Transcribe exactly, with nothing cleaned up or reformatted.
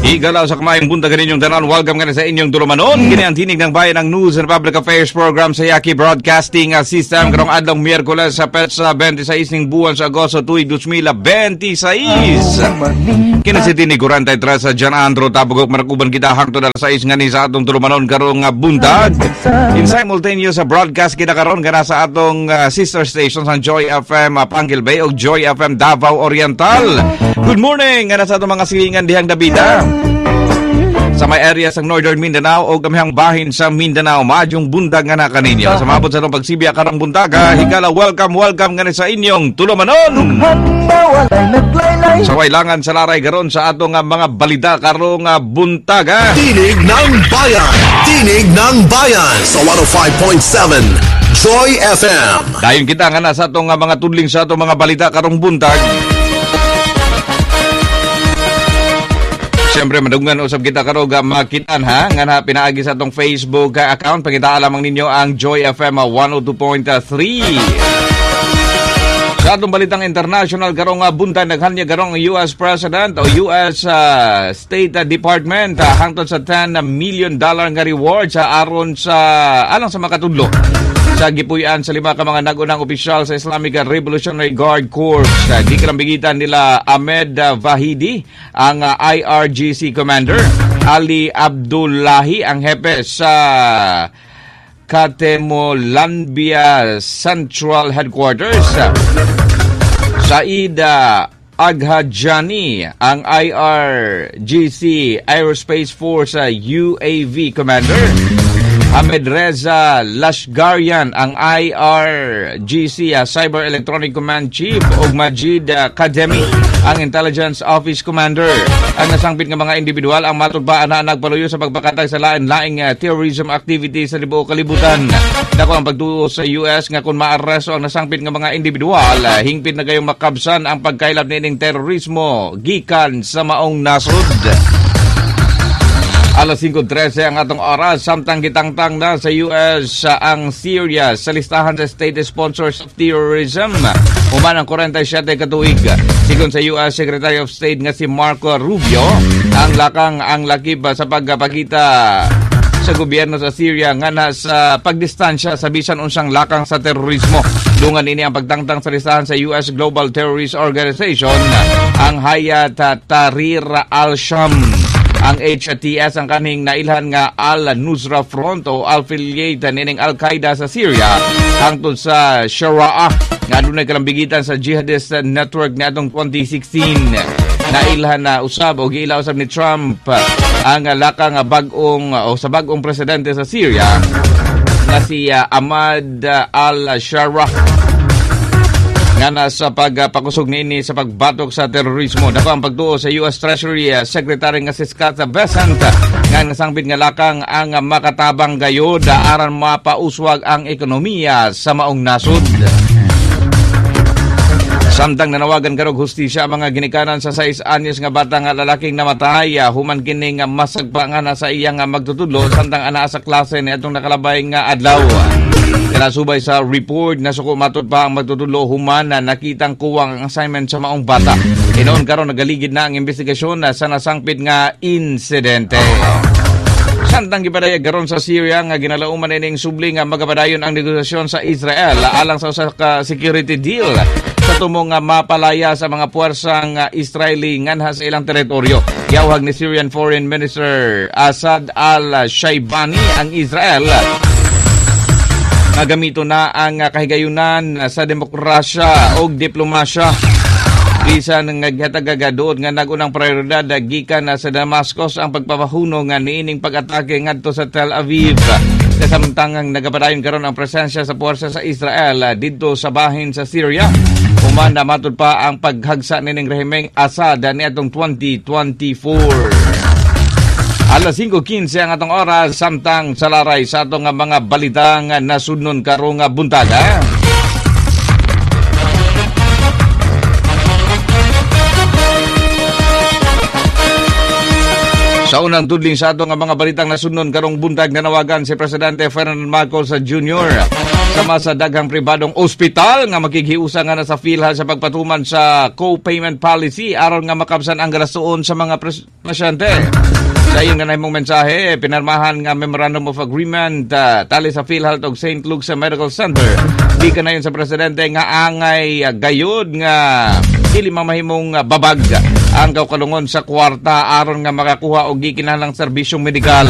Higala sa kamayong buntag ninyong tanan. Welcome ka na sa inyong tulumanon. Kini ang Tinig ng Bayan, ang News and Public Affairs Program sa Yaki Broadcasting System. Karong adlaw Miyerkules sa petsa twenty-six ning buwan sa Agosto tuig twenty twenty-six. Kini si Tinig forty-three sa John Andro Tabugok, manakuban kita hangtod alas sais ngani sa atong tulumanon karong uh, buntag. In simultaneous sa broadcast kita karon kana sa atong uh, sister stations, ang Joy F M uh, Panguil Bay ug Joy F M Davao Oriental. Good morning ngana sa atong mga silingan dihang Dabida sa may area sa Northern Mindanao o gamhang bahin sa Mindanao. Maayong buntag nga na kaninyo. Sa mabot sa atong pagsibya karong buntaga, higala, welcome, welcome nga ni sa inyong tulumanon. Sa wailangan sa laray karon sa atong uh, mga balita karong uh, buntaga. Tinig ng Bayan. Tinig ng Bayan sa one oh five point seven Joy F M. Dayon kita nga na sa atong uh, mga tudling sa atong mga balita karong buntag. Siyempre, madungan usab kita karong makitan ha, nga na pinaagi sa atong Facebook account. Pangitaa lamang ninyo ang Joy F M one oh two point three. Sa atong balitang international karong buntag, naghanyag karong U S President o U S uh, State Department uh, hangtod sa ten million dollar nga reward sa aron sa alang sa makatudlo sa gipuy-an sa lima ka mga nag-unang opisyal sa Islamic Revolutionary Guard Corps. Uh, Gikalambigitan nila Ahmed Vahidi, ang uh, I R G C Commander, Ali Abdullahi, ang hepe sa Khatemulanbiya Central Headquarters, Said Aghajani, ang I R G C Aerospace Force U A V Commander, Ahmed Reza Lashgarian, ang I R G C uh, Cyber Electronic Command Chief, ug Majid uh, Khademi, ang Intelligence Office Commander. Ang nasangpit nga mga individual ang matud pa ana nagpaluyo sa pagpakatag sa lain-laing uh, terrorism activities sa tibuok kalibutan. Dako ang pagtuo sa U S nga kung maaresto ang nasangpit nga mga individual, uh, hingpit na gayong makabsan ang pagkaylap niining terorismo gikan sa maong nasod. Alas singko trese ang atong oras, samtang gitangtang na sa U S ang Syria sa listahan sa state sponsors of terrorism human ang forty-seven ka tuig. Sigon sa U S Secretary of State nga si Marco Rubio, ang lakang ang lakip sa pagpakita sa gobyerno sa Syria nga na sa pagdistansya sa bisan unsang lakang sa terorismo. Dungan ini ang pagtangtang sa listahan sa U S Global Terrorist Organization ang Hayat Tahrir al-Sham. Ang H T S ang kaning nailhan nga Al-Nusra Front o affiliate nining Al-Qaeda sa Syria hangtod sa Sharaa nga adunay kalambigitan sa jihadist network niadtong twenty sixteen. Nailhan na usab o giila usab ni Trump ang lakang bag-ong o sa bag-ong presidente sa Syria nga si Ahmad al-Shara nga na sa pagpakusog niini sa pagbatok sa terorismo. Dako ang pagtuo sa U S Treasury Secretary nga si Scott Bessent nga nasangpit nga lakang ang makatabang gayod aron mapauswag ang ekonomiya sa maong nasod. Samtang nanawagan karong hustisya ang mga ginikanan sa sais anyos nga bata nga lalaking namatay human kining masagpa nga na sa iyang magtutudlo samtang anaa sa klase niadtong nakalabay nga adlaw. Kanasubay sa report, nasuko matud pa ang magtutudlo human na nakitang kuwang ang assignment sa maong bata. Hinuon karon nagaligid na ang investigasyon sa nasangpit nga insidente. Samtang gipadayag karon sa Syria nga ginalauman ining subli nga magapadayon ang negosasyon sa Israel alang sa usa ka security deal sa tumong nga mapalaya sa mga puwersang Israeli nganha sa ilang teritoryo. Giawhag ni Syrian Foreign Minister Asad al-Shaibani ang Israel nga gamito na ang kahigayunan sa demokrasya o diplomasya. Bisan nga gihatag duot nga nag-unang prioridad gikan sa Damascus ang pagpapahunong nga niining pag-atake ngadto sa Tel Aviv. Kasamtangang nagapadayon karon ang presensya sa puwersa sa Israel didto sa bahin sa Syria human na matud pa ang paghagsa nining rehimeng Assad niadtong twenty twenty-four. Alas singko kinse ang atong oras, samtang sa laray sa atong mga balitang nasudnon karong buntaga. Sa unang tudling sa atong mga balitang nasudnon karong buntag, nanawagan si Presidente Ferdinand Marcos Junior Sama sa daghang pribadong ospital nga makighiusa nga na sa PhilHealth sa pagpatuman sa co-payment policy aron nga makabsan ang gastuon sa mga pres- pasyente. Sa iyong nahimong mensahe, pinirmahan nga Memorandum of Agreement uh, tali sa PhilHealth ug Saint Luke's Medical Center. Di kanayon sa presidente nga angay uh, gayud nga dili mamahimong uh, babag ang kaugalungon sa kwarta aron nga makakuha og gikinahanglang serbisyong medikal.